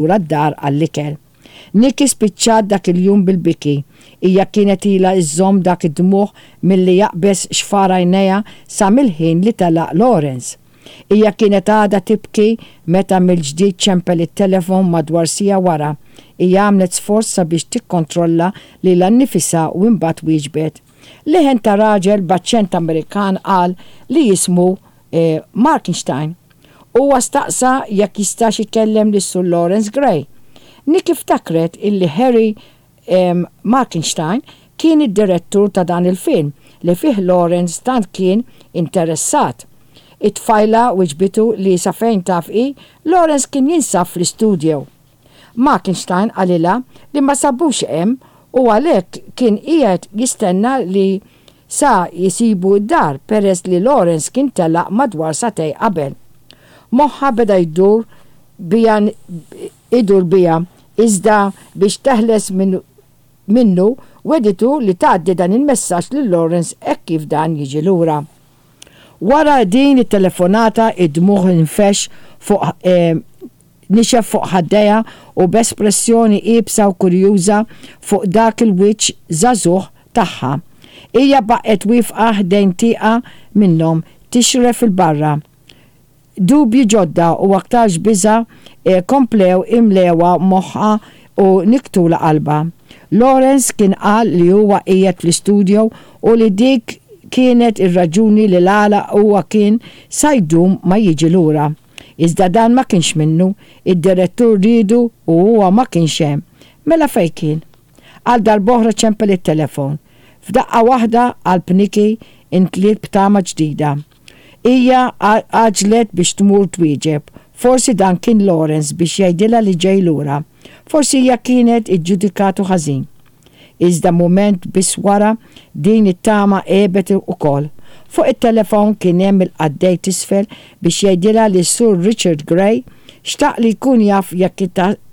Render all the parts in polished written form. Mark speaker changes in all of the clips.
Speaker 1: lura d-dar għall-ikel. Nikki spiċċat dak il-jum bil-biki. Hija kienet ilha żżomm dak id-dmugħ milli jaqbeż xfar għajnejha sa mill-ħin li telaq Lawrence. Hija kienet għadha tibki meta mill-ġdid ċempel it-telefon madwar siegħa wara. Hija għamlet sforz sabiex tikkontrolla lilha nnifisha u imbagħad wieġbet. Leħen ta' raġel b'aċċent Amerikan qal li jismu Markenstein. Huwa staqsa jekk jistax ikellem lis-Sur Lawrence Gray. Nikki ftakret illi Harry Markenstein kien id-direttur ta' dan il-film li fih Lawrence tant kien interessat. It-tfajla wiġbitu li sa fejn taf hi, Lawrence kien jinsab fl-istudio. Markenstein qalilha li ma sabux hemm u għalhekk kien qiegħed jistenna li sa jsibu d-dar peress li Lawrence kien telaq madwar sagħtejn qabel. Moħħha beda jdur biha idur biha iżda biex teħles minn minnu wegħditu li tgħaddi dan il-messaġġ lil Lawrence hekk kif dan jiġi lura. Wara din it-telefonata id-dmugħ infexx fuq nixef fuq ħaddejha u b'espressjoni iebsa u kurjuża fuq dak il-wiċċ żagħżugħ tagħha. Hija baqgħet wieqfa ħdejn tieqa minnhom tixref 'il barra. Dubji ġodda u aktarx biża' komplew imlewha moħħha u nikktulha qalbha. Lawrence kien qal li huwa qiegħed fl-istudio u li dik kienet ir-raġuni li l-għala huwa kien sa jdum ma jiġi lura. Iżda dan ma kienx minnu, id-direttur riedu u huwa ma kienx hemm. Mela fejn kien? Għal darb'oħra ċempel it-telefon. F'daqqa waħda qalb Nikki intliet b'tama ġdida. Hija għaġġlet biex tmur twieġeb. Forsi dan kien Lawrence biex jgħidilha li ġej lura. Forsi hija kienet iġġudikatu ħażin. Iżda mument biss wara, din it-tama għebet ukoll. Fuq it-telefon kien hemm il-qaddej t'isfel biex jgħidilha li s-Sur Richard Gray xtaq li jkun jaf jekk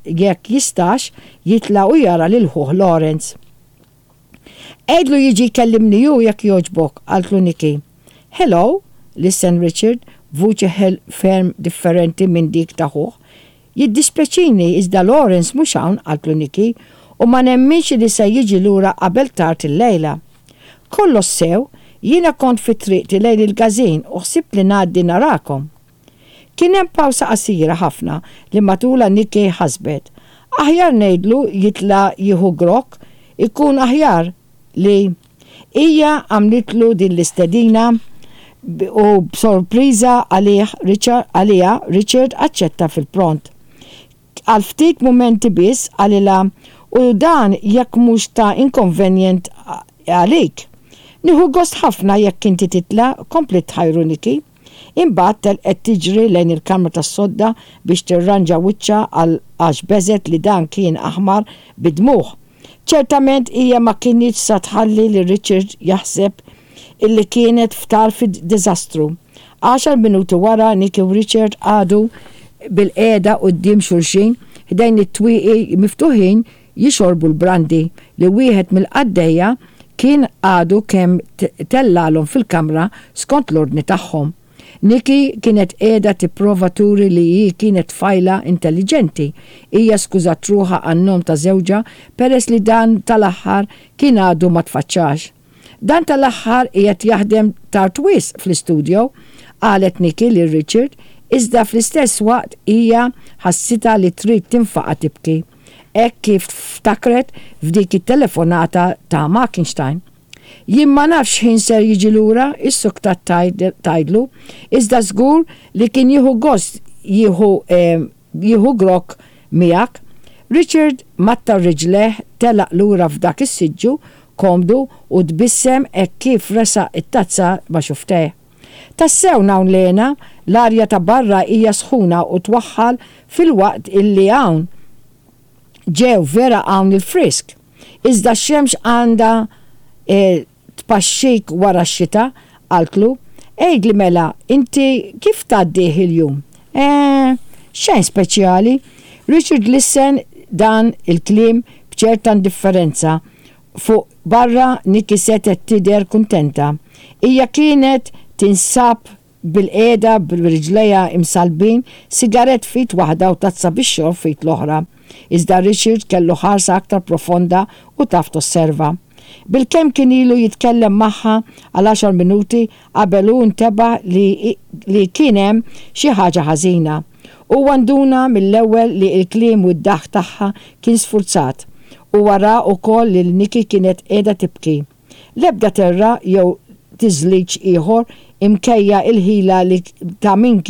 Speaker 1: jekk jistax jitla' u jara lil ħuh Lawrence. Għidlu jiġi jkellimni hu jekk jogħġbok, qaltlu Nikki. Hello, lissen Richard b'vuċi ferm differenti minn dik ta' ħuh. Jiddispjaċini iżda Lawrence mhux hawn, qaltlu Nikki, u ma nemminx li se jiġi lura qabel tard illejla. Kollox sew, jiena kont fi triqti lejn il-każin u ħsibt li ngħaddi narakom. Kien hemm pawsa qasira ħafna li matulha Nikki ħasbet, Aħjar ngħidlu jitla' jieħu grokk, ikun aħjar li Hija għamlitlu din l-istedina u b'sorpriża għalih Richard għaliha Richard aċċetta fil-pront. Għal ftit mumenti biss qalilha u dan jekk mhux ta' inkonvenjent għalik. Nieħu gost ħafna jekk inti titla', kompliet tħajru Nikki. Imbagħad telqet tiġri lejn il-kamra tas-sodda biex tirranġa wiċċha għal għax beżgħet li dan kien aħmar bid-dmugħ. Ċertament hija ma kinitx sa tħalli lil Richard jaħseb illi kienet f'tarf id-diżastru. Għaxar minuti wara Nikki u Richard qagħdu bilqiegħda quddiem xulxin ħdejn it-twieqi miftuħin jixorbu l-brandy li wieħed mill-qaddejja kien għadu kemm tellgħalhom fil-kamra skont l-ordni tagħhom. Nikki kienet qiegħda tipprova turi li hi kienet tfajla intelliġenti. Hija skużat ruħha għan-nom ta' żewġha peress li dan tal-aħħar kien għadu ma tfaċċax. Dan tal-aħħar qiegħed jaħdem tard wisq fl-istudio, qalet Nikki lil Richard, iżda fl-istess waqt hija ħassitha li trid tinfaqa' tibki hekk kif ftakret f'dik it-telefonata ta' Markenstein. Jien ma nafx x'ħin ser jiġi lura, issuktat tgħidlu, iżda żgur li kien jieħu gost jieħu jieħu grokk miegħek. Richard mattar riġlejh, telaq lura f'dak is-siġġu komdu u tbissem hekk kif resaq it-tazza ma' xufftejh. Tassew hawn Lena, l-arja ta' barra hija sħuna u twaħħal filwaqt illi hawn ġew vera hawn il-frisk. Iżda x-xemx għandha tpaxxik wara x-xita, qaltlu. Għidli mela, inti kif tgħaddih il-jum? Eh, xejn speċjali. Richard lissen dan il-kliem b'ċerta indifferenza. Fuq barra Nikki setgħet tidher kuntenta. Hija kienet tinsab. bilqiegħda b'riġlejha imsallbin, sigarett f'id waħda u tazza bix-xorb f'id l-oħra. Iżda Richard kellu ħarsa aktar profonda u taf tosserva. Bilkemm kien ilu jitkellem magħha għal għaxar minuti qabel hu ntebaħ li li kien hemm xi ħaġa ħażina. Huwa nduna mill-ewwel li l-kliem u d-daħk tagħha kien sfurzat. Huwa ra wkoll lil Nikki kienet qiegħda tibki. L-ebda terra jew tiżliġ ieħor imkejja l-ħila li ta' min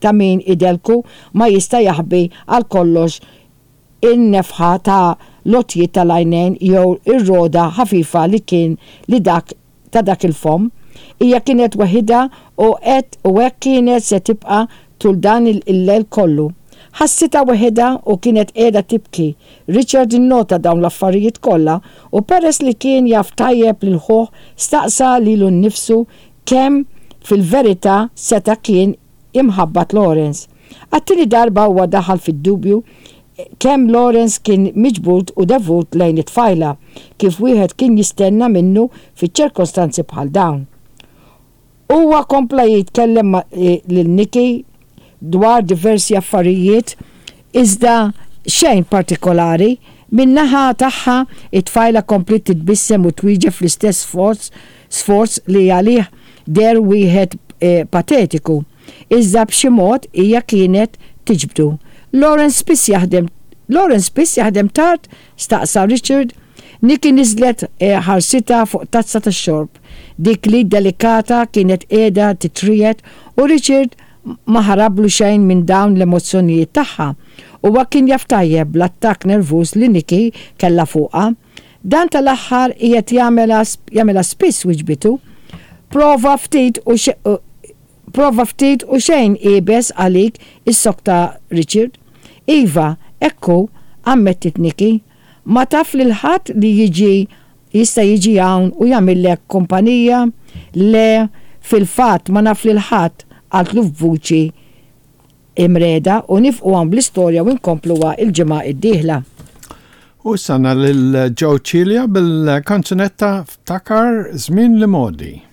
Speaker 1: ta' min idellku ma jista' jaħbi għal kollox in-nefħa ta' l-għotjiet ta' l-għajnejn jew ir-rogħda ħafifa li kien li dak ta' dak il-fomm. Hija kienet weħidha u qed u hekk kienet se tibqa' tul dan il-lejl kollu. Ħassitha weħidha u kienet qiegħda tibki. Richard innota dawn l-affarijiet kollha u peress li kien jaf tajjeb lil ħuh staqsa lilu nnifsu kemm fil-verità seta' kien imħabbat Lawrence. Għat-tieni darba huwa daħal fid-dubju kemm Lawrence kien miġbud u devut lejn it-tfajla, kif wieħed kien jistenna minnu fiċ-ċirkostanzi bħal dawn. Huwa kompla jitkellem lil Nikki dwar diversi affarijiet iżda xejn partikolari. Min-naħa tagħha, it-tfajla kompliet titbissem u twieġeb fl-istess sforz sforz li għalih deher wieħed patetiku. Iżda b'xi mod hija kienet tiġbdu. Lawrence spiss jaħdem Lawrence spiss jaħdem tard? staqsa Richard. Nikki niżlet ħarsitha fuq tazza tax-xorb. Dik l-id delikata kienet qiegħda titriegħed u Richard ma ħarablu xejn minn dawn l-emozzjonijiet tagħha. Huwa kien jaf tajjeb bl-attakk nervuż li Nikki kellha fuqha. Dan tal-aħħar qiegħed jagħmilha spiss wiġbitu. Prova ftit u Prova ftit u xejn iebes għalik issokta Richard. Iva, hekk hu, ammettiet Nikki. Ma taf lil ħadd li jiġi jista' jiġi hawn u jagħmillek kumpanija? Le, fil-fatt ma naf lil ħadd, qaltlu f'vuċi imriegħda u nifqu hawn bl-istorja u nkompluha l-ġimgħa d-dieħla.
Speaker 2: U issa għandna lil Joe Cilia bil-kanzunetta Ftakar Żmien l-Imgħoddi.